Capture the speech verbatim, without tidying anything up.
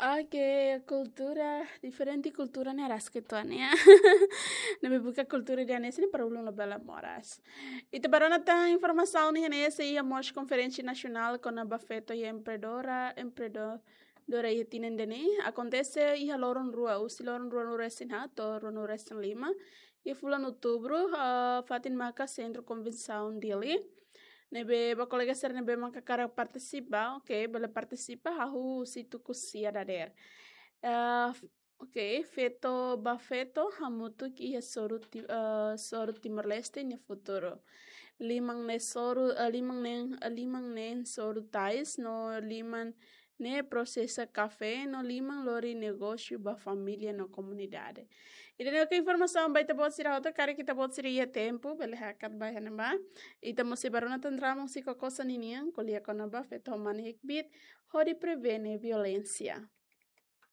Oke, kultura, diferente kultura ne'e rasik uitoan, ya. Ne'ebé buka kultura ida-ne'e sini para ulun labele moras. Ita bá rona tan informasaun ne'e, sei iha mós konferénsia nasionál kona-ba feto iha empreendedora, empreendedora iha tinan ida-ne'e. Akontese iha loron rua, husi loron ruanulu-resin-haat to'o ruanulu-resin-lima. Iha fulan outubru, ah, fatin maka Sentru Konvensaun Dili. Ne'ebé ba kolega sira ne'ebé maka hakarak partisipa, oke, bele partisipa, hahú husi tuku sia dadeer. Eh, f-, oke, feto ba feto hamutuk iha soru Ti-, eh, soru Timor-Leste nia futuru. Liman ne'e soru, eh, liman ne'e, eh, liman ne'e soru tais, no liman ne'e prosesa kafé, no liman lori negósiu ba família no komunidade. Ida-ne'e oke informasaun ba ita-boot sira hotu, karik ita-boot sira iha tempu, bele hakat ba iha ne'ebá. Ita mós sei bá rona tan drama husi Kokosa ninian, ko'alia kona-ba feto ho mane hakbiit, hodi prevene violénsia.